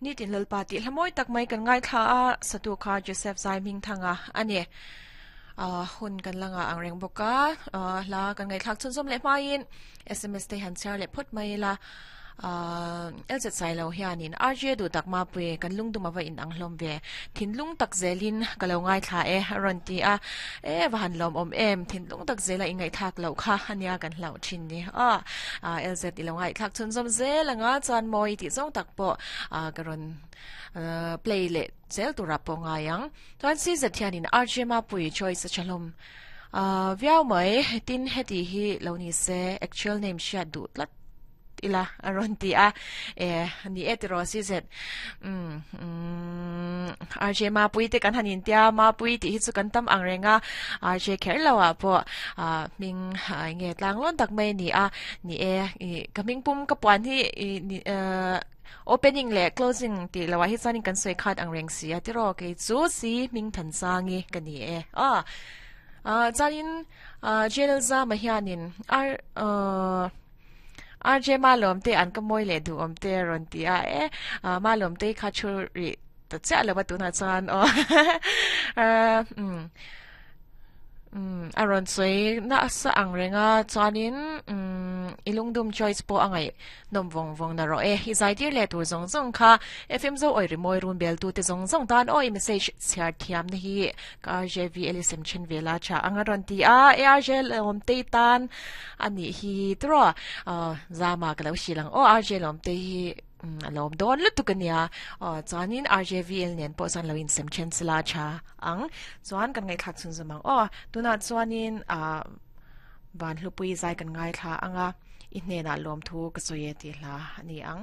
Nitin Lalpa tih hla mawi tak mai kan ngaithla a, satu kha Joseph Zaihmingthanga a ni. Hun kan la ngah ang reng bawk a, hla kan ngaihthlak chhunzawm leh hmain sms te han chhiar leh phawt mai ila. LZ Sailo hianin RJ duh tak mapui kan lungdum ava in ang hlawm ve, thinlung tak zelin ka lo ngaithla e a rawn ti a, e va han lawmawm em, thinlung tak zela i ngaihthlak loh kha ania kan hlauh thin ni a, LZ i lo ngaihthlak chhunzawm zel anga chuan mawi tih zawng tak pawh ka rawn play leh zel turah pawh ngai ang. Chuan CZ hianin RJ mapui choice a tha hlawm viau mai, tin heti hi lo ni se actual name hriat duh tlat ila a rawn ti a e ni e tiraw si zet um um RJ Mapui te kan han intia Mapui tih hi chu kan tam ang reng a RJ kher lo ah pawh a hming nge tlang lawn tak mai ni a ni e i ka hming pum ka puan hi i ni opening leh closing tih lo ah hi chuanin kan sawi khat ang reng si a tiraw kei chu si hming Thansangi ka ni e a chuanin Jail Zama hianin R RJ Malawm te an ka mawi leh duh awm te a rawn ti a e Malawm te kha thu rih ta chiah lo a tunah chuan aw um um a rawn sawi nasa ang reng a chuanin um i lungdum choice pawh a ngaih nawm vawng vawng na rawh e i zai tir leh tur zawng zawng kha FM zo awi rimawi run bel tu te zawng zawng tan aw i message chhiar thiam na hi ka RJV Elisem then vela tha ang a rawn ti a ARJ lawm te tan A nih hi tiraw Zama ka lo hrilh ang aw RJ Lawmte hi a lawm dawn lutuk a nia aw chuanin RJVL nen pawh chuan lo insem then sela tha ang chuan kan ngaihthlak chhun zawm ang aw tunah chuanin ah Vanhlupui zai kan ngaithla ang a i hnenah lawmthu ka sawi e tih hla a ni ang.